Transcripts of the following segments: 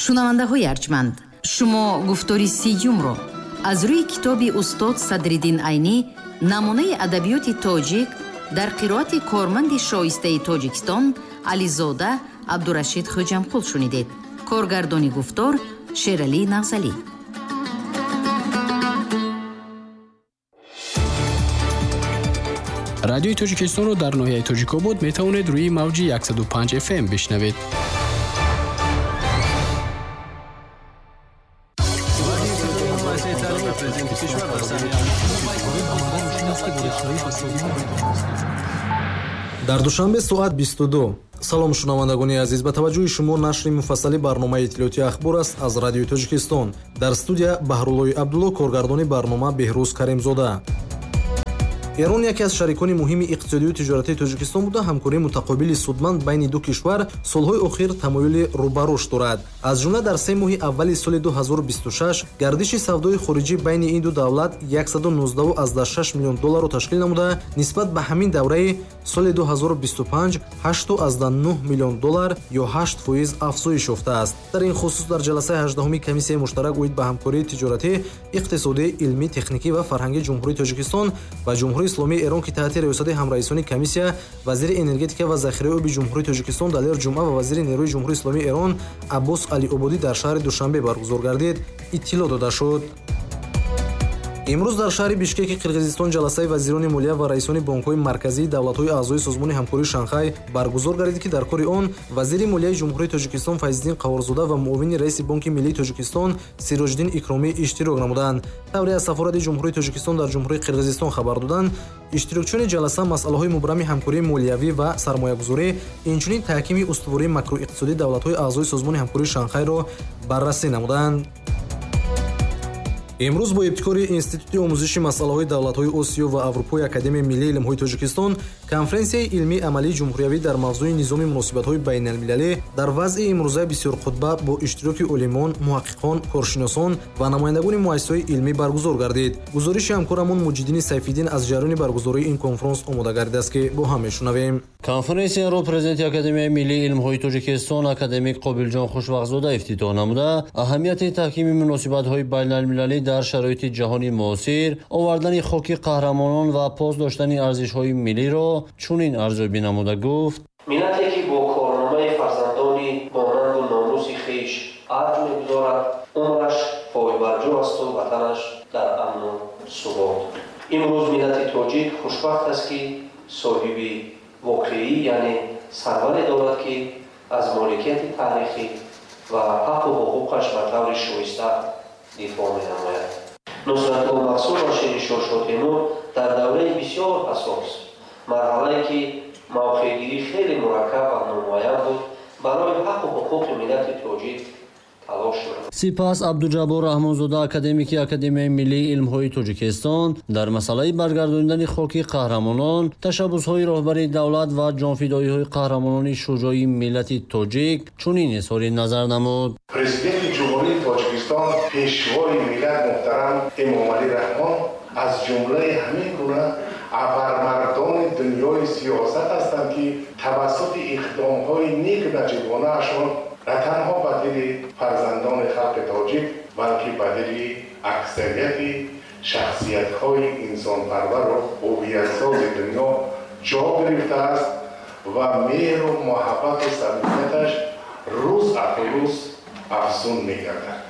Шунавандаҳои арҷманд, шумо гуфтори сиюмро аз рӯи китоби устод Садриддин Айнӣ «Намунаи адабиёти тоҷик» дар қироати корманди шоистаи Тоҷикистон Ализода Абдурашид Хӯҷамқул шунидед. Коргардони гуфтор Шералӣ Нағзалӣ. Радиои Тоҷикистонро дар ноҳияи Тоҷикобод метавонед рӯи мавҷи 105 FM бишнавед. Дар Душанбе соат 22. Салом, шунавандагони азиз, ба таваҷҷӯҳи шумо нашри муфассали барномаи иттилоотии «Ахбор» аст аз Радиои Тоҷикистон. Дар студия Баҳруллои Абдулло, коргардони барнома Беҳрӯз Каримзода. Эрон яке аз шарикони муҳими иқтисодию тиҷоратии Тоҷикистон буда, ҳамкории мутақобили судманд байни ду кишвар солҳои охир тамоюли рӯ ба рушд дорад. Аз ҷумла дар 3 моҳи аввали соли 2026 гардиши савдои хориҷӣ байни ин ду давлат 119,6 миллион долларро ташкил намуда, нисбат ба ҳамин давраи соли 2025 8,9 миллион доллар ё 8% афзоиш ёфтааст. Дар ин хусус дар ҷаласаи 18-уми комиссияи муштарак оид ба ҳамкории тиҷоратӣ, иқтисодӣ, илмӣ, техникӣ ва фарҳангии Ҷумҳурии Тоҷикистон ва Ҷумҳурии Исломии Эрон, ки таҳти риёсати ҳамраисони комиссия вазири энергетика ва захираи оби Ҷумҳурии Тоҷикистон Далер Ҷумъа ва вазири нерӯи Ҷумҳурии Исломии Эрон Аббос Алиободӣ дар шаҳри Душанбе баргузор гардид, иттилоъ дода шуд. Имрӯз дар шаҳри Бишкеки Қирғизистон ҷаласаи вазирони молия ва раисони бонкҳои марказии давлатҳои аъзои Созмони ҳамкории Шанхай баргузор гардид, ки дар кори он вазири молияи Ҷумҳурии Тоҷикистон Файзиддин Қаҳорзода ва муовини раиси Бонки миллии Тоҷикистон Сироҷиддин Икромӣ иштирок намуданд. Тавре аз сафорати Ҷумҳурии Тоҷикистон дар Ҷумҳурии Қирғизистон хабар доданд, иштирокчиёни ҷаласа масъалаҳои мубрами ҳамкории молиявӣ ва сармоягузорӣ, инчунин таҳкими устувории макроиқтисодии давлатҳои аъзои Созмони ҳамкории Шанхайро баррасӣ намуданд. Имрӯз бо ибтикори Институти омӯзиши масъалаҳои давлатҳои Осиё ва Аврупои Академияи миллии илмҳои Тоҷикистон конференсияи илмии амалии ҷумҳуриявӣ дар мавзӯи низоми муносибатҳои байналмилалӣ дар вазъи имрӯзаи бисёрқутба бо иштироки олимон, муҳаққиқон, коршиносон ва намояндагони муассисаҳои илмӣ баргузор гардид. Гузориши ҳамкорамон Муҷиддини Сайфиддин аз ҷараёни баргузории ин конфронс омода гардидааст, ки бо ҳам мешунавем. Конференсияро президенти Академияи миллии илмҳои Тоҷикистон академик Қобилҷон Хушвақтзода ифтитоҳ намуда, аҳамияти таҳкими муносибатҳои байналмилалӣ дар шароити ҷаҳони муосир, овардани хоки қаҳрамонон ва пос доштани арзишҳои миллиро чунин арзёбӣ намуда гуфт: миллате ки бо корномаи фарзандони бонангу номуси хеш арҷ мегузорад, умраш пойбарҷо асту ватанаш дар амну субот. Имрӯз миллати тоҷик хушбахт аст, ки соҳиби воқеӣ, яъне сарваре дорад, ки аз моликияти таърихӣ ва ҳаққу ҳуқуқаш ба таври шоиста дифоъ менамояд. Нусратулло Махсум ва Шириншоҳ Шотемур дар давраи бисёр ҳассос, марҳалае ки мавқеъгирӣ хеле мураккаб ва номуайян буд, барои ҳаққу ҳуқуқи миллати тоҷик талош намуд. Сипас Абдуҷаббор Раҳмонзода, академики Академияи миллии илмҳои Тоҷикистон, дар масъалаи баргардонидани хоки қаҳрамонон, ташаббусҳои роҳбари давлат ва ҷонфидоиҳои қаҳрамонони шуҷои миллати тоҷик чунин изҳори назар намуд. Президенти Ҷумҳурии Тоҷикистон, пешвои миллат муҳтарам Эмомалӣ Раҳмон аз ҷумлаи ҳамин гуна абармардони дунёи сиёсат ҳастанд, ки тавассути иқдомҳои нек наҷибонаашон на танҳо ба дили фарзандони халқи тоҷик, балки ба дили аксарияти шахсиятҳои инсонпарвару ҳувиятсози дунё ҷо гирифтааст ва меҳру муҳаббату самимияташ рӯз аз рӯз афзун мегардад.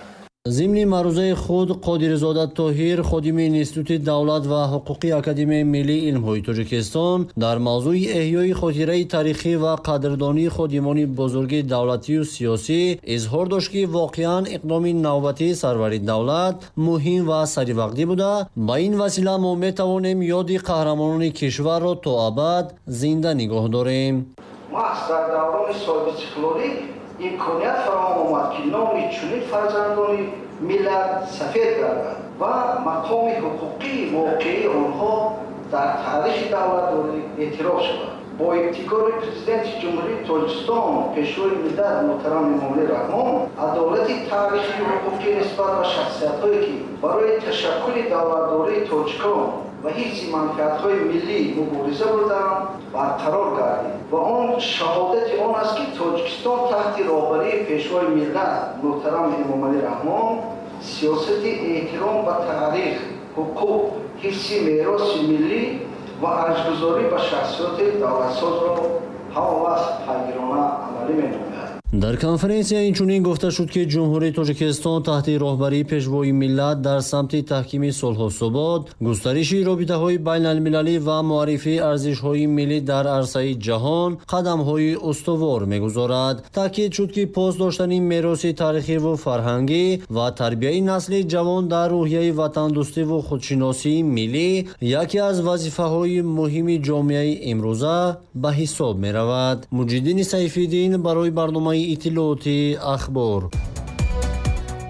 Зимни маърузаи худ Қодирзода Тоҳир, ходими Институти давлат ва ҳуқуқи Академияи миллии илмҳои Тоҷикистон, дар мавзӯи эҳёи хотираи таърихӣ ва қадрдонии ходимони бузурги давлатию сиёсӣ изҳор дошт, ки воқеан иқдоми навбатии сарвари давлат муҳим ва саривақтӣ буда, ба ин васила мо метавонем ёди қаҳрамонони кишварро то абад зинда нигоҳ дорем. Маҳз дар даврони соҳибистиқлолӣ имконият фароҳам омад, ки номи чунин фарзандони миллат сафед гардад ва мақоми ҳуқуқии воқеии онҳо дар таърихи давлатдорӣ эътироф шавад. Бо ибтикори президенти Ҷумҳурии Тоҷикистон, пешвои миллат муҳтарам Эмомалӣ Раҳмон, адолати таърихию ҳуқуқӣ нисбат ба шахсиятҳое, ки барои ташаккули давлатдории тоҷикон ва ҳифзи манфиатҳои миллӣ мубориза бурдаанд, барқарор гардид ва он шаҳодати он аст, ки Тоҷикистон таҳти роҳбарии Пешвои миллат муҳтарам Эмомалӣ Раҳмон сиёсати эҳтиром ба таърих, ҳуқуқ, ҳифзи мероси миллӣ ва арҷгузорӣ ба шахсияти давлатсозро ҳама вақт пайгирона амалӣ менамояд. Дар конференсия инчунин гуфта шуд, ки Ҷумҳурии Тоҷикистон таҳти роҳбарии Пешвои миллат дар самти таҳкими сулҳу субот, густариши робитаҳои байналмилалӣ ва муаррифии арзишҳои миллӣ дар арсаи ҷаҳон қадамҳои устувор мегузорад. Таъкид шуд, ки пос доштани мероси таърихиву фарҳангӣ ва тарбияи насли ҷавон дар рӯҳияи ватандӯстиву худшиносии миллӣ яке аз вазифаҳои муҳими ҷомеаи имрӯза ба ҳисоб меравад. Муҷиддини Сайфиддин барои барномаи иттилооти Ахбор.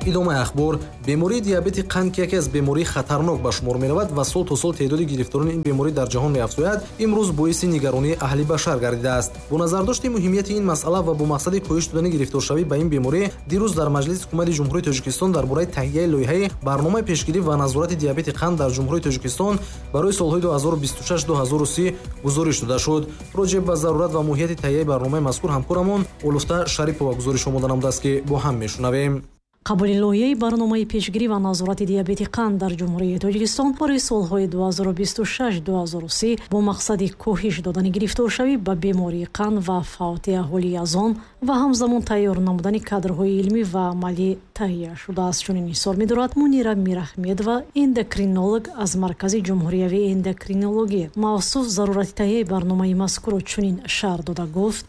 Идомаи ахбор. Бемории диабети қанд, ки яке аз бемории хатарнок ба шумор меравад ва сол то сол теъдоди гирифторони ин беморӣ дар ҷаҳон меафзояд, имрӯз боиси нигаронии аҳли башар гардидааст. Бо назардошти муҳимияти ин масъала ва бо мақсади коҳиш додани гирифторшавӣ ба ин беморӣ, дирӯз дар Маҷлиси Ҳукумати Ҷумҳурии Тоҷикистон дар бораи таҳияи лоиҳаи барномаи пешгирӣ ва назорати диабети қанд дар Ҷумҳурии Тоҷикистон барои солҳои 2026-2030 гузориш дода шуд. Роҷеъ ба зарурат ва моҳияти таҳияи барномаи мазкур ҳамкорамон Олуфта Шарипова гузориш омода намудааст, ки бо ҳам мешунавем. Қабули лоиҳаи барномаи пешгирӣ ва назорати диабети қанд дар Ҷумҳурии Тоҷикистон барои солҳои 2026-2030 бо мақсади коҳиш додани гирифторшавӣ ба бемории қанд ва фавти аҳолӣ аз он ва ҳамзамон тайёр намудани кадрҳои илмӣ ва амалӣ таҳия шудааст. Чунин изҳор медорад Мунира Мирахмедова, эндокринолог аз Маркази ҷумҳуриявии эндокринологӣ. Мавсуф зарурати таҳияи барномаи мазкурро чунин шарҳ дода гуфт: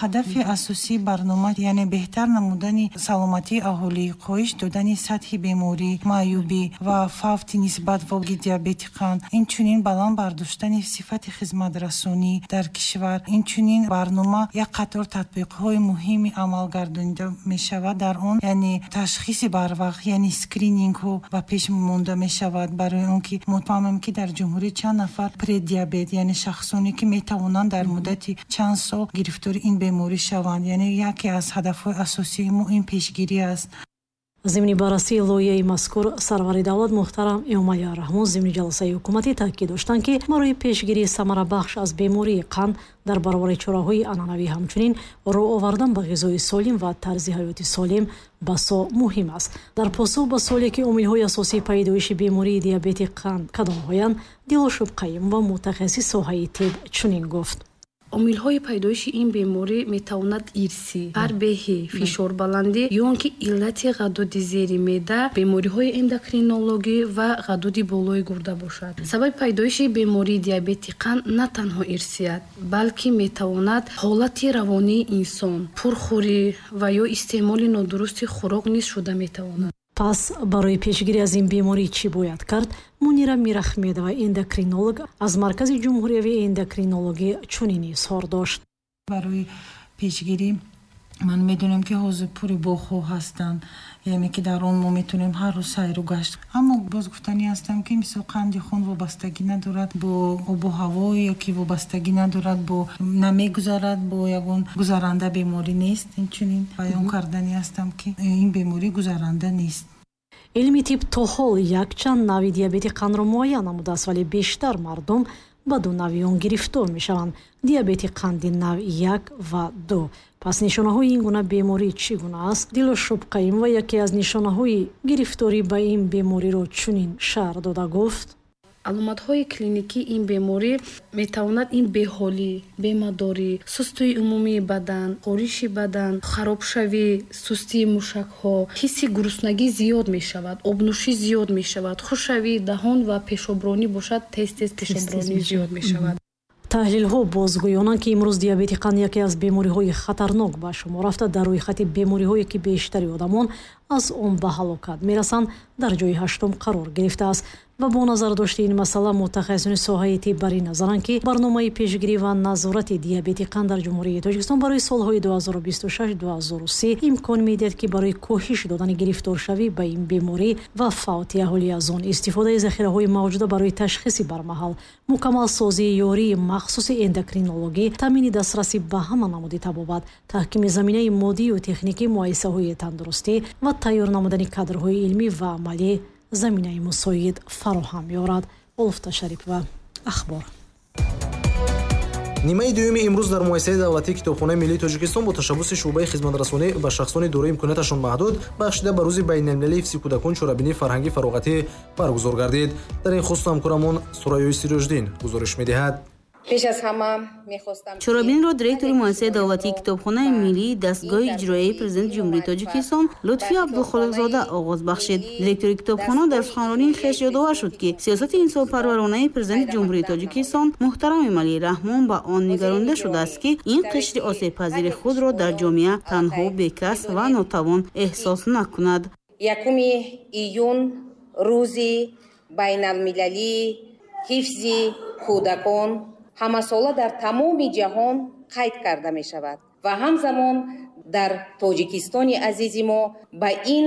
Ҳадафи асосии барнома, яъне беҳтар намудани саломатии аҳолӣ, коҳиш додани сатҳи беморӣ, маъюбӣ ва фавти нисбат ба диабети қанд, инчунин баланд бардоштани сифати хизматрасонӣ дар кишвар. Инчунин барнома як қатор татбиқҳои муҳими амалгардонида мешавад. Дар он, яъне ташхиси барвақт, яъне скринингҳо ба пеш монда мешавад, барои он ки мо фаҳмем, ки дар ҷумҳурӣ чанд нафар предиабет, яъне шахсоне ки метавонанд дар муддати чанд сол гирифтори ин беморӣ шаванд. Яъне яке аз ҳадафҳои асосии мо ин пешгирӣ аст. Зимни баррасии лоиҳаи мазкур сарвари давлат муҳтарам Эмомалӣ Раҳмон зимни ҷаласаи ҳукуматӣ таъкид доштанд, ки барои пешгирии самарабахш аз бемории қанд дар баробари чораҳои анъанавӣ ҳамчунин рӯ овардан ба ғизои солим ва тарзи ҳаёти солим басо муҳим аст. Дар посух ба суоле, ки омилҳои асосии пайдоиши бемории диабети қанд кадомҳоянд, Дилошуб Қайимова, мутахассиси соҳаи тиб, чунин гуфт: Омилҳои пайдоиши ин беморӣ метавонад ирсӣ, фарбеҳӣ, фишорбаландӣ ё он ки иллати ғадуди зери меъда, бемориҳои эндокринологӣ ва ғадуди болои гурда бошад. Сабаби пайдоиши бемории диабети қанд на танҳо ирсият, балки метавонад ҳолати равонии инсон, пурхӯрӣ ва ё истеъмоли нодурусти хӯрок низ шуда метавонад. Пас барои пешгирӣ аз ин беморӣ чӣ бояд кард? Мунира Мирахмедова, эндокринолог аз Маркази ҷумҳуриявии эндокринологӣ, чунин изҳор дошт: Барои пешгирӣ ман медонам, ки ҳозир пури боғҳо ҳастанд, яъне ки дар он мо метавонем ҳар рӯз сайру гашт. Аммо боз гуфтанӣ ҳастам, ки мисол қанди хун вобастагӣ надорад бо обу ҳаво ё ки вобастагӣ надорад бо намегузарад бо ягон гузаранда беморӣ нест. Инчунин баён карданӣ ҳастам, ки ин беморӣ гузаранда нест. Илми тиб то ҳол якчанд навъи диабети қандро муайян намудааст, вале бештар мардум ба ду навъи он гирифтор мешаванд: диабети қанди навъи як ва ду. Пас нишонаҳои ин гуна беморӣ чӣ гуна аст? Дилошуб Қайимова яке аз нишонаҳои гирифторӣ ба ин бемориро чунин шарҳ дода гуфт: Аломатҳои клиникии ин беморӣ метавонад ин беҳолӣ, бемадорӣ, сустии умумии бадан, хориши бадан, харобшавӣ, сустии мушакҳо, ҳисси гуруснагӣ зиёд мешавад, обнӯшӣ зиёд мешавад, хушшавии даҳон ва пешобронӣ бошад, тез тез пешобронӣ зиёд мешавад. Таҳлилҳо бозгӯёнанд, ки имрӯз диабети қанд яке аз бемориҳои хатарнок ба шумор рафта, дар рӯйхати бемориҳое, ки бештари одамон аз он ба ҳалокат мерасанд, дар ҷои ҳаштум қарор гирифтааст. Ва бо назардошти ин масъала мутахассисони соҳаи тиб бар ин назаранд, ки барномаи пешгирӣ ва назорати диабети қанд дар Ҷумҳурии Тоҷикистон барои солҳои 2026-2030 имкон медиҳад, ки барои коҳиш додани гирифторшавӣ ба ин беморӣ ва фавти аҳолӣ аз он, истифодаи захираҳои мавҷуда барои ташхиси бармаҳал, мукаммалсозии ёрии махсуси эндокринологӣ, таъмини дастрасӣ ба ҳама намуди табобат, таҳкими заминаи моддию техникии муассисаҳои тандурустӣ ва тайёр намудани кадрҳои илмӣ ва амалӣ заминаи мусоид фароҳам меорад. Олуфта Шарипова, Ахбор. Нимаи дуюми имрӯз дар муассисаи давлатии Китобхонаи миллии Тоҷикистон бо ташаббуси шӯъбаи хизматрасонӣ ба шахсони дорои имконияташон маҳдуд бахшида ба рӯзи байналмилалии ҳифзи кӯдакон чорабинии фарҳангӣ фароғатӣ баргузор гардид. Дар ин хусус ҳамкорамон Сурайёи Сироҷиддин гузориш медиҳад. Пеш аз ҳама мехостам чорабинро директори муассисаи давлатии Китобхонаи миллии дастгоҳи иҷроияи Президенти Ҷумҳурии Тоҷикистон Лутфи Абдухолиқзода оғоз бахшид. Директори китобхона дар суханронии хеш ёдовар шуд, ки сиёсати инсонпарваронаи Президенти Ҷумҳурии Тоҷикистон муҳтарам Эмомалӣ Раҳмон ба он нигаронида шудааст, ки ин қишри осебпазири худро дар ҷомеа танҳо, бекас ва нотавон эҳсос накунад. 1 июн рӯзи байналмилалии ҳифзи кӯдакон ҳамасола дар тамоми ҷаҳон қайд карда мешавад ва ҳамзамон дар Тоҷикистони азизи мо ба ин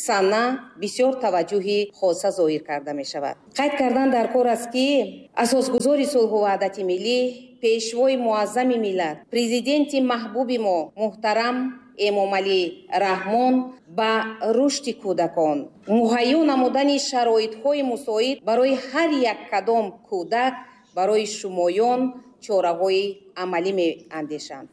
сана бисёр таваҷҷӯҳи хоса зоҳир карда мешавад. Қайд кардан дар кор аст, ки асосгузори сулҳу ваҳдати миллӣ, пешвои муаззами миллат, президенти маҳбуби мо муҳтарам Эмомалӣ Раҳмон ба рушди кӯдакон, муҳайё намудани шароитҳои мусоид барои ҳар як кадом кӯдак барои шумоён чораҳои амалӣ меандешанд.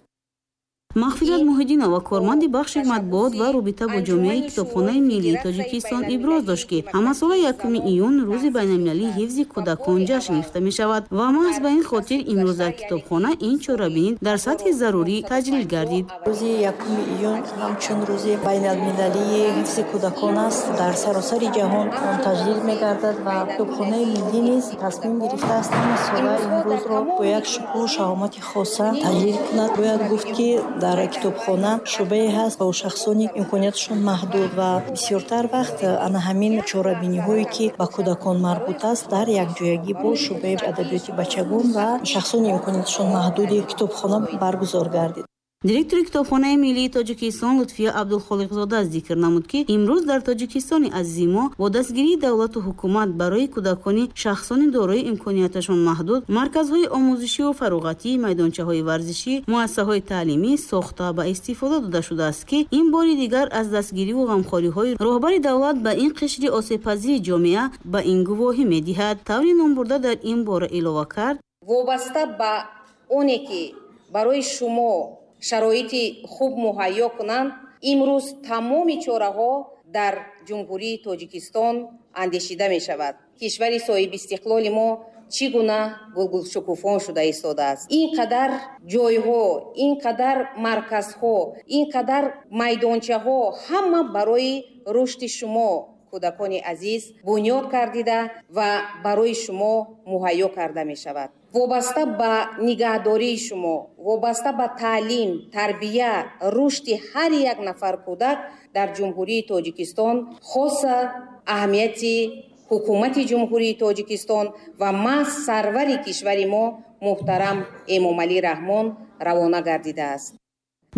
Мағфират Муҳиддинова, корманди бахши матбуот ва робита бо ҷомеаи Китобхонаи миллии Тоҷикистон, иброз дошт, ки ҳамасола 1 июн рӯзи байналмилалии ҳифзи кӯдакон ҷашн гирифта мешавад ва маҳз ба ин хотир имрӯз дар китобхона ин чорабинӣ дар сатҳи зарурӣ таҷлил гардид. Рӯзи 1 июн ҳамчун рӯзи байналмилалии ҳифзи кӯдакон аст, дар саросари ҷаҳон он таҷлил мегардад ва Китобхонаи миллӣ низ тасмим гирифтааст ҳамасола ин рӯзро бо як шукӯҳу шаҳомати хоса таҷлил кунад. Бояд гуфт, ки дар китобхона шӯъбае ҳаст бо шахсони имконияташон маҳдуд ва бисёртар вақт ана ҳамин чорабиниҳое, ки ба кӯдакон марбут аст, дар якҷоягӣ бо шӯъбаи адабиёти бачагон ва шахсони имконияташон маҳдуди китобхона баргузор гардид. Директори Китобхонаи миллии Тоҷикистон Лутфия Абдулхолиқзода зикр намуд, ки имрӯз дар Тоҷикистони азизи мо бо дастгирии давлату ҳукумат барои кӯдакони шахсони дорои имконияташон маҳдуд марказҳои омӯзишию фароғатӣ, майдончаҳои варзишӣ, муассисаҳои таълимӣ сохта ба истифода дода шудааст, ки ин бори дигар аз дастгириву ғамхориҳои роҳбари давлат ба ин қишри осебпазири ҷомеа ба ин гувоҳӣ медиҳад. Таври номбурда дар ин бора илова кард: вобаста ба оне ки барои шумо шароити хуб муҳайё кунанд, имрӯз тамоми чораҳо дар Ҷумҳурии Тоҷикистон андешида мешавад. Кишвари соҳибистиқлоли мо чӣ гуна гулгулшукуфон шуда истодааст. Ин қадар ҷойҳо, ин қадар марказҳо, ин қадар майдончаҳо ҳама барои рушди шумо, кӯдакони азиз, бунёд кардида ва барои шумо муҳайё карда мешавад. Вобаста ба нигаҳдории шумо, вобаста ба таълим, тарбия, рушди ҳар як нафар кӯдак дар Ҷумҳурии Тоҷикистон хоса аҳамияти ҳукумати Ҷумҳурии Тоҷикистон ва маҳз сарвари кишвари мо муҳтарам Эмомалӣ Раҳмон равона гардидааст.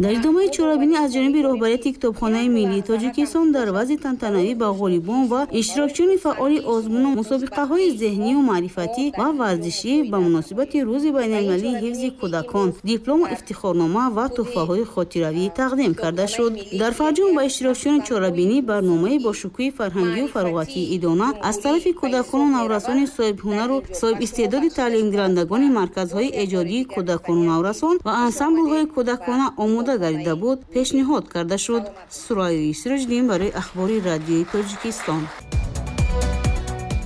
Дар идомаи чорабинӣ аз ҷониби роҳбарияти Китобхонаи миллии Тоҷикистон дар вазъи тантанавӣ ба ғолибон ва иштирокчиёни фаъоли озмуну мусобиқаҳои зеҳнию маърифатӣ ва варзишӣ ба муносибати рӯзи байналмилалии ҳифзи кӯдакон диплому ифтихорнома ва тӯҳфаҳои хотиравӣ тақдим карда шуд. Дар фарҷом ба иштирокчиёни чорабинӣ барномаи бо шукӯҳи фарҳангию фароғатии идона аз тарафи кӯдакону наврасони соҳибҳунару соҳибистеъдоди таълимгирандагони марказҳои эҷодии кӯдакону наврасон ва ансамблҳои кӯдакона омода гардида буд пешниҳод карда шуд. Сурайёи Сироҷиддин барои Ахбори радиои Тоҷикистон.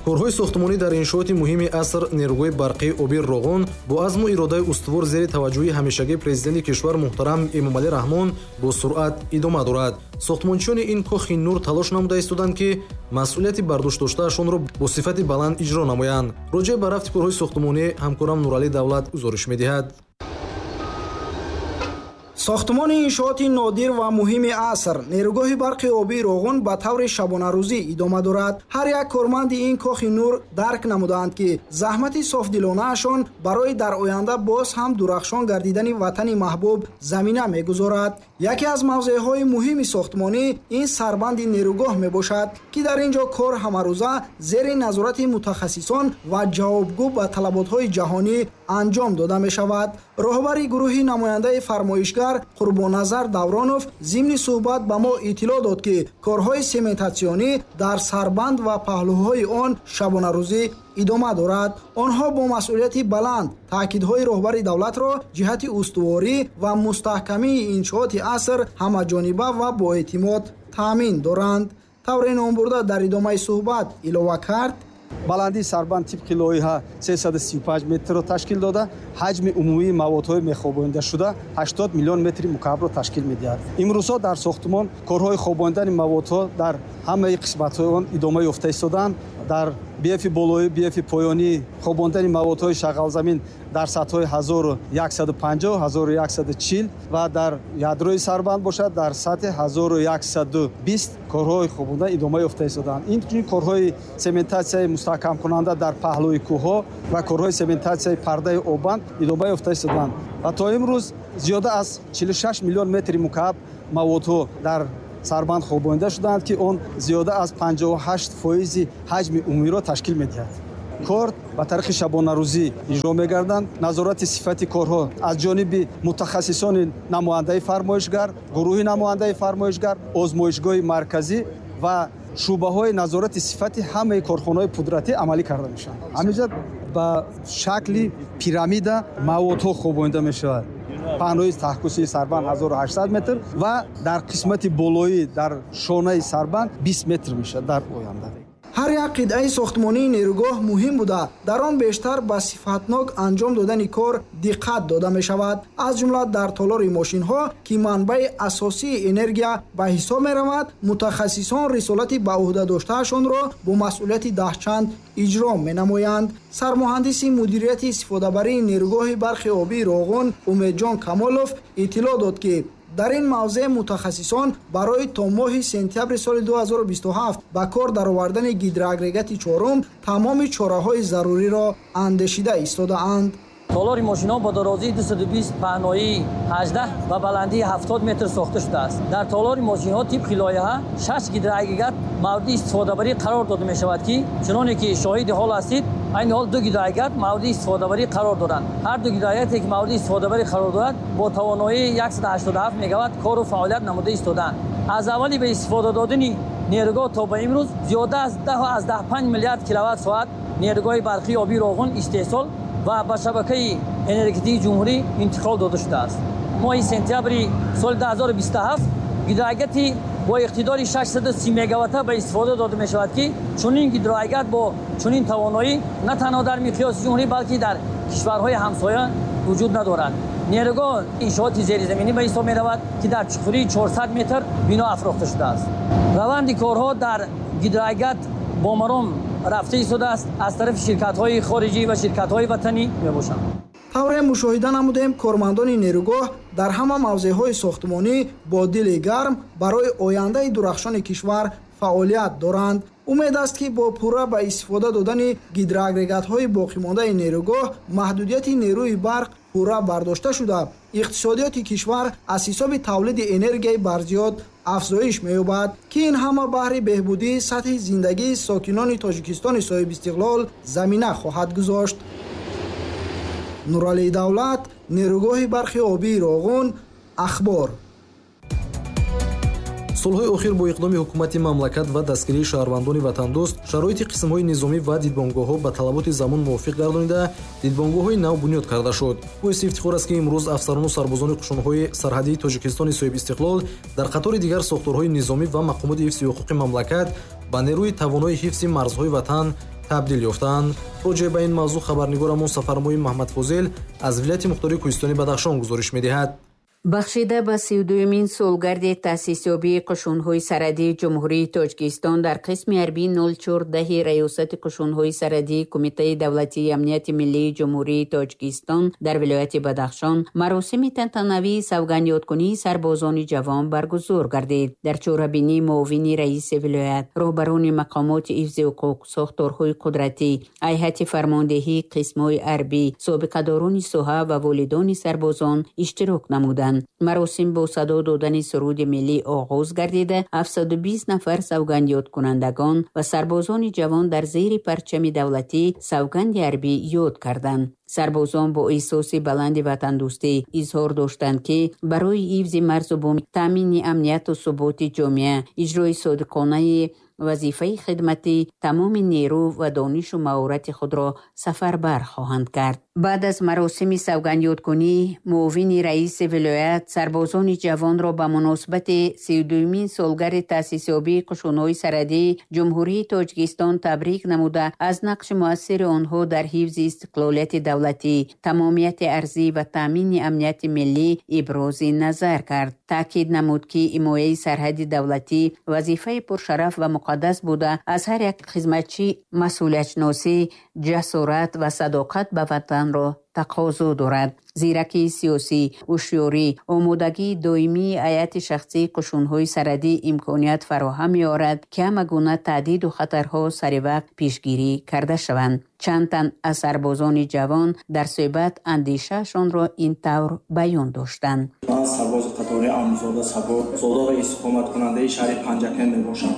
Корҳои сохтмонӣ дар иншооти муҳими аср нерӯгоҳи барқии оби Роғун бо азму иродаи устувор зери таваҷҷӯҳи ҳамешагии президенти кишвар муҳтарам Эмомалӣ Раҳмон бо суръат идома дорад. Сохтмончиёни ин кохи нур талош намуда истоданд, ки масъулияти бардошт доштаашонро бо сифати баланд иҷро намоянд. Роҷеъ ба рафти корҳои сохтмонӣ ҳамкорам Нуралӣ Давлат гузориш медиҳад. Сохтмони иншооти нодир ва муҳими аср нерӯгоҳи барқи обии Роғун ба таври шабонарӯзӣ идома дорад. Ҳар як корманди ин кохи нур дарк намудаанд, ки заҳмати софдилонаашон барои дар оянда боз ҳам дурахшон гардидани ватани маҳбуб замина мегузорад. Яке аз мавзеъҳои муҳими сохтмонӣ ин сарбанди нерӯгоҳ мебошад, ки дар ин ҷо кор ҳамарӯза зери назорати мутахассисон ва ҷавобгӯ ба талаботҳои ҷаҳонӣ анҷом дода мешавад. Роҳбари гурӯҳи намояндаи фармоишгар Қурбонназар Давронов зимни суҳбат ба мо иттилоъ дод, ки корҳои сементатсионӣ дар сарбанд ва паҳлӯҳои он шабонарӯзӣ идома дорад. Онҳо бо масъулияти баланд таъкидҳои роҳбари давлатро ҷиҳати устуворӣ ва мустаҳкамии иншооти аср ҳамаҷониба ва боэътимод таъмин доранд. Тавре номбурда дар идомаи суҳбат илова кард: Баландии сарбанд тибқи лоиҳа 335 метрро ташкил дода, ҳаҷми умумии маводҳои мехобондашуда 80 миллион метри мукаабро ташкил медиҳад. Имрӯзҳо дар сохтмон корҳои хобондани маводҳо дар ҳамаи қисматҳои он идома ёфта истодаанд. Дар бфи болоӣ, бфи поёнӣ хобондани маводҳои шағалзамин дар сатҳҳои 1150, 1140 ва дар ядрои сарбанд бошад дар сатҳи 1120 корҳои хобондан идома ёфта истодаанд. Инчунин корҳои сементатсияи мустаҳкамкунанда дар паҳлӯи кӯҳҳо ва корҳои сементатсияи пардаи оббанд идома ёфта истодаанд. Ва то имрӯз зиёда аз 46 миллион метри мукааб маводҳо дар сарбанд хобонда шудаанд, ки он зиёда аз 58% ҳаҷми умумиро ташкил медиҳад. Кор ба тариқи шабонарӯзӣ иҷро мегарданд. Назорати сифати корҳо аз ҷониби мутахассисони намояндаи фармоишгар, гурӯҳи намояндаи фармоишгар, озмоишгоҳи марказӣ ва шӯъбаҳои назорати сифати ҳамаи корхонаҳои пудратӣ амалӣ карда мешаванд. Ҳаминҷа ба шакли пирамида маводҳо хобонда мешавад. Паҳнои таҳкусии сарбанд 1800 метр ва дар қисмати болоӣ дар шонаи сарбанд 20 метр мешавад дар оянда. Ҳар як қитъаи сохтмонии нерӯгоҳ муҳим буда, дар он бештар ба сифатнок анҷом додани кор диққат дода мешавад. Аз ҷумла дар толори мошинҳо, ки манбаи асосии энергия ба ҳисоб меравад, мутахассисон рисолати ба ӯҳда доштаашонро бо масъулияти даҳчанд иҷро менамоянд. Сармуҳандиси мудирияти истифодабарии нерӯгоҳи барқи обии Роғун Умедҷон Камолов иттилоъ дод, ки дар ин мавзеъ мутахассисон барои то моҳи сентябри соли 2027 ба кор даровардани гидроагрегати чорум тамоми чораҳои заруриро андешида истодаанд. Толори мошинҳо бо дарозии 220, паҳноии 18 ва баландии 70 метр сохта шудааст. Дар толори мошинҳо тибқи лоиҳа 6 гидроагрегат мавриди истифодабарӣ қарор дода мешавад, ки чуноне ки шоҳиди ҳол ҳастид, айни ҳол 2 гидроагрегат мавриди истифодабарӣ қарор доранд. Ҳар ду гидроагрегате ки мавриди истифодабарӣ қарор дорад бо тавоноии 187 мегаватт кору фаъолият намуда истодаанд. Аз аввали ба истифода додани нерӯгоҳ то ба имрӯз зиёда аз 10,5 миллиард киловатт соат нерӯгоҳи барқии обии Роғун истеҳсол ва ба шабакаи энергетикии ҷумҳурӣ интиқол дода шудааст. Моҳи сентябри соли 2027 гидроагрегати бо иқтидори 630 мегаватта ба истифода дода мешавад, ки чунин гидроагрегат бо чунин тавоноӣ на танҳо дар миқёси ҷумҳурӣ, балки дар кишварҳои ҳамсоя вуҷуд надорад. Нерӯгоҳ иншооти зеризаминӣ ба ҳисоб меравад, ки дар чуқурии 400 метр бино афрохта шудааст. Раванди корҳо дар гидроагрегат бо маром рафта истодааст, аз тарафи ширкатҳои хориҷӣ ва ширкатҳои ватанӣ мебошанд. Тавре мушоҳида намудем, кормандони нерӯгоҳ дар ҳама мавзеъҳои сохтмонӣ бо дили гарм барои ояндаи дурахшони кишвар фаъолият доранд. Умед аст, ки бо пурра ба истифода додани гидроагрегатҳои боқимондаи нерӯгоҳ маҳдудияти нерӯи барқ пурра бардошта шуда, иқтисодиёти кишвар аз ҳисоби тавлиди энергияи барзиёд афзоиш меёбад, ки ин ҳама баҳри беҳбудии сатҳи зиндагии сокинони Тоҷикистони соҳибистиқлол замина хоҳад гузошт. Нуралии Давлат, нерӯгоҳи барқи обии Роғун, Ахбор. Солҳои охир бо иқдоми ҳукумати мамлакат ва дастгирии шаҳрвандони ватандӯст шароити қисмҳои низомӣ ва дидбонгоҳҳо ба талаботи замон мувофиқ гардонида, дидбонгоҳҳои нав бунёд карда шуд. Боиси ифтихор аст, ки имрӯз афсарону сарбозони қушунҳои сарҳадии Тоҷикистони соҳибистиқлол дар қатори дигар сохторҳои низомӣ ва мақомоти ҳифзи ҳуқуқи мамлакат ба нерӯи тавонои ҳифзи марзҳои ватан табдил ёфтаанд. Роҷеъ ба ин мавзӯъ хабарнигорамон Сафармои Маҳмадфозил аз вилояти мухтори Кӯҳистони Бадахшон гузориш медиҳад. Бахшида ба 32-мин солгарди таъсисёбии қушунҳои сарҳадии Ҷумҳурии Тоҷикистон дар қисми ҳарбии 0410 Раёсати қушунҳои сарҳадии Кумитаи давлатии амнияти миллии Ҷумҳурии Тоҷикистон дар вилояти Бадахшон маросими тантанавии савгандёдкунии сарбозони ҷавон баргузор гардид. Дар чорабинии муовини раиси вилоят, роҳбарони мақомоти ҳифзи ҳуқуқ, сохторҳои қудратӣ, ҳайати фармондеҳии қисмҳои ҳарбӣ, собиқадорони соҳа ва волидони сарбозон иштирок намуданд. намуданд. Маросим бо садо додани суруди миллӣ оғоз гардида, 720 нафар савгандёдкунандагон ва сарбозони ҷавон дар зери парчами давлатӣ савганди ҳарбӣ ёд карданд. Сарбозон бо эҳсоси баланди ватандӯстӣ изҳор доштанд, ки барои ҳифзи марзу бум, таъмини амнияту суботи ҷомеа, иҷрои содиқонаи вазифаи хидматӣ тамоми нерӯ ва донишу маҳорати худро сафарбар хоҳанд кард. Баъд аз маросими савгандёдкунӣ муовини раиси вилоят сарбозони ҷавонро ба муносибати 32-мин солгарди таъсисёбии қушунҳои сарҳадии Ҷумҳурии Тоҷикистон табрик намуда, аз нақши муассири онҳо дар ҳифзи истиқлолияти давлатӣ, тамомияти арзӣ ва таъмини амнияти миллӣ ибрози назар кард. Таъкид намуд, ки ҳимояи сарҳади давлатӣ вазифаи пуршараф ва муқаддас буда, аз ҳар як хизматчӣ масъулиятшиносӣ, ҷасорат ва садоқат ба ватанро тақозо дорад. Зиракии сиёсӣ, ҳушёрӣ, омодагии доимии ҳайати шахсии қушунҳои сарҳадӣ имконият фароҳам меорад, ки ҳама гуна таҳдиду хатарҳо саривақт пешгирӣ карда шаванд. Чанд тан аз сарбозони ҷавон дар суҳбат андешаашонро ин тавр баён доштанд. Ман сарбози қатори Амзода Сабур, зода ва истиқоматкунандаи шаҳри Панҷакент мебошам.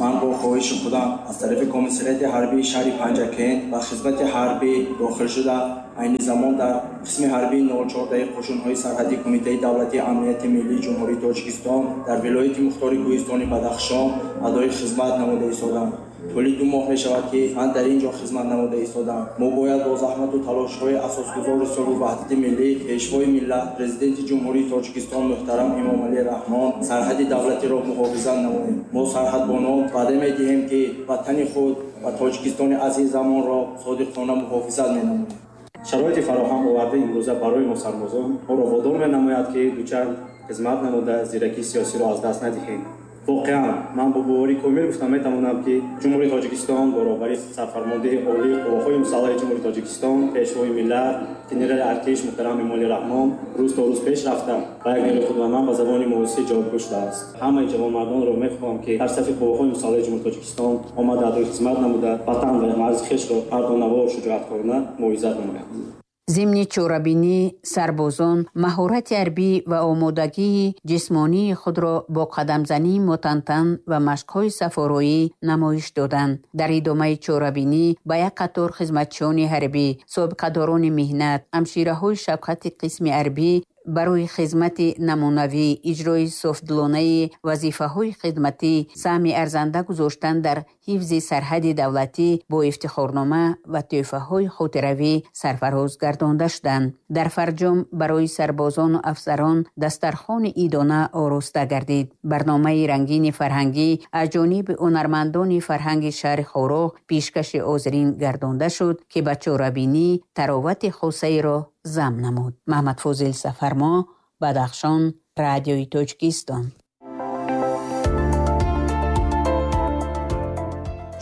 Ман бо хоҳиши худам аз тарафи комиссариати ҳарбии шаҳри Панҷакент ба хизмати ҳарбӣ дохил шуда, айни замон дар қисми ҳарбии 04 қушунҳои сарҳадии Кумитаи давлатии амнияти миллии Ҷумҳурии Тоҷикистон дар вилояти мухтори Кӯҳистони Бадахшон адои хизмат намуда истодам. Тӯли 2 моҳ мешавад, ки ман дар ин ҷо хизмат намуда истодам. Мо бояд бо заҳмату талошҳои асосгузори сулҳу ваҳдати миллӣ, Пешвои миллат, Президенти Ҷумҳурии Тоҷикистон муҳтарам Эмомалӣ Раҳмон сарҳади давлатиро муҳофизат намоем. Мо сарҳадбонон ваъда медиҳем, ки ватани худ ва Тоҷикистони азизамонро содиқона муҳофизат менамоем. Шароити фароҳам овардаи имрӯза барои мо сарбозон моро водор менамояд, ки дучанд хизмат намуда зиракии сиёсиро аз даст надиҳем. Воқеан ман бо боварӣ комил гуфта метавонам, ки Ҷумҳурии Тоҷикистон бо роҳбарии сарфармондеҳи олии қувваҳои мусаллаҳи Ҷумҳурии Тоҷикистон, Пешвои миллат, генерали артиш муҳтарам Эмомалӣ Раҳмон рӯз то рӯз пеш рафта ва як нерӯи худманд ба забони муосир ҷавобгӯ шудааст. Ҳамаи ҷавонмардонро мехоҳам, ки дар сафи қувваҳои мусаллаҳи Ҷумҳурии Тоҷикистон омада адои хизмат намуда, ватан ва марзи хешро мардонавор шуҷоаткорона муҳофизат намоянд. Зимни чорабинӣ сарбозон маҳорати ҳарбӣ ва омодагии ҷисмонии худро бо қадамзании мутантан ва машқҳои сафороӣ намоиш доданд. Дар идомаи чорабинӣ ба як қатор хизматчиёни ҳарбӣ, собиқадорони меҳнат, ҳамшираҳои шафқати қисми ҳарбӣ барои хизмати намунавӣ, иҷрои софдилонаи вазифаҳои хидматӣ, саҳми арзанда гузоштан дар ҳифзи сарҳади давлатӣ бо ифтихорнома ва тӯҳфаҳои хотиравӣ сарфароз гардонда шуданд. Дар фарҷом барои сарбозону афсарон дастархони идона ороста гардид. Барномаи рангини фарҳангӣ аз ҷониби ҳунармандони фарҳанги шаҳри Хоруғ пешкаши ҳозирин гардонда шуд, ки ба чорабинӣ таровати хосаеро зам намуд. Маҳмад Фозил Сафармо, Бадахшон, Радиои Тоҷикистон.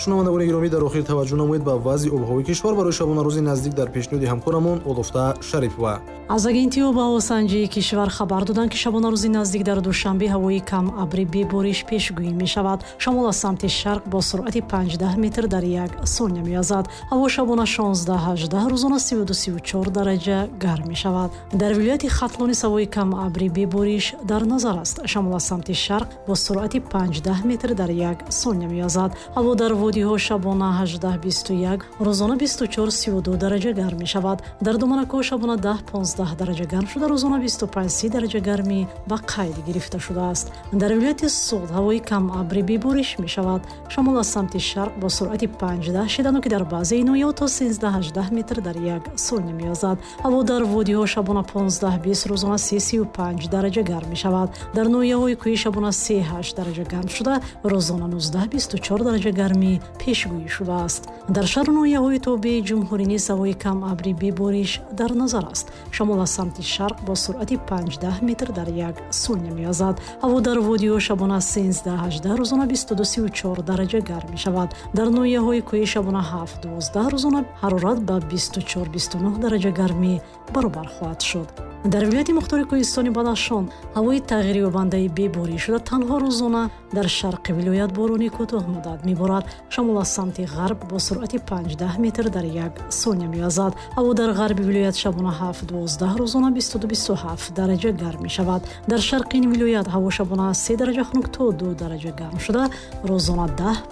Шунавандагони гиромӣ, дар охир таваҷҷӯҳ намоед ба вазъи обҳавои кишвар барои шабонарӯзи наздик дар пешниҳоди ҳамкорамон Олуфта Шарипова. Аз агентии обҳавосанҷии кишвар хабар доданд, ки шабонарӯзи наздик дар Душанбе ҳавои кам абрӣ бебориш пешгӯӣ мешавад. Шамол аз самти шарқ бо суръати 5 метр дар як сония меязад. Ҳаво шабона 16-18, рӯзона 32-34 дараҷа гарм мешавад. Дар вилояти Хатлон ҳавои кам абрӣ бебориш дар назар аст. Шамол аз самти шарқ бо суръати 5 метр дар як сония меязад. Ҳаво дар водиҳо шабона 18-21, рӯзона 24-32 дараҷа гарм мешавад. Дар Доманакӯҳ шабона 10-15 дараҷа гарм шуда, рӯзона 25-30 дараҷа гармӣ ба қайд гирифта шудааст. Дар вилояти Суғд ҳавои кам абрӣ бебориш мешавад. Шамол аз самти шарқ бо суръати 5 шидану ки дар баъзеи ноҳияҳо то 13-18 метр дар як сония меязад. Ҳаво дар водиҳо шабона 15-20, рӯзона 3-35 дараҷа гарм мешавад. Дар ноҳияҳои кӯҳӣ шабона 3-8 дараҷа гарм шуда, рӯзона 19-24 дараҷа гармӣ пешгӯӣ шудааст. Дар шаҳру ноҳияҳои тобеи ҷумҳурӣ низ ҳавои кам абрӣ бебориш дар назар аст. Шамол аз самти шарқ бо суръати 5 метр дар як сония меязад. Ҳаво дар водиҳо шабона 13-18, рӯзона 22-34 дараҷа гарм мешавад. Дар ноҳияҳои кӯҳӣ шабона 7-12, рӯзона ҳарорат ба 24-29 дараҷа гармӣ баробар хоҳад шуд. Дар вилояти мухтори Кӯҳистони Бадахшон ҳавои тағйирёбандаи бебориш шуда, танҳо рӯзона дар шарқи вилоят борони кӯтоҳмуддат меборад. Шамол аз самти ғарб бо суръати 5-10 метр дар як сония мевазад. Ҳаво дар ғарби вилоят шабона 7-12, рӯзона 22-27 дараҷа гарм мешавад. Дар шарқи ин вилоят ҳаво шабона аз 3 дараҷа хунук то 2 дараҷа гарм шуда, рӯзона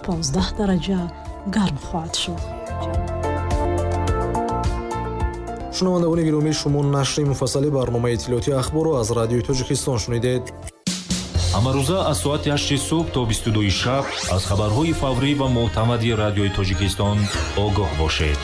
10-15 дараҷа гарм хоҳад шуд. Шунавандагони гиромӣ, шумо нашри муфассали барномаи иттилоотии ахборро аз Радиои Тоҷикистон шунидед. Ҳамарӯза аз соати 8 субҳ то 22 шаб аз хабарҳои фаврӣ ва мӯътамади Радиои Тоҷикистон огоҳ бошед.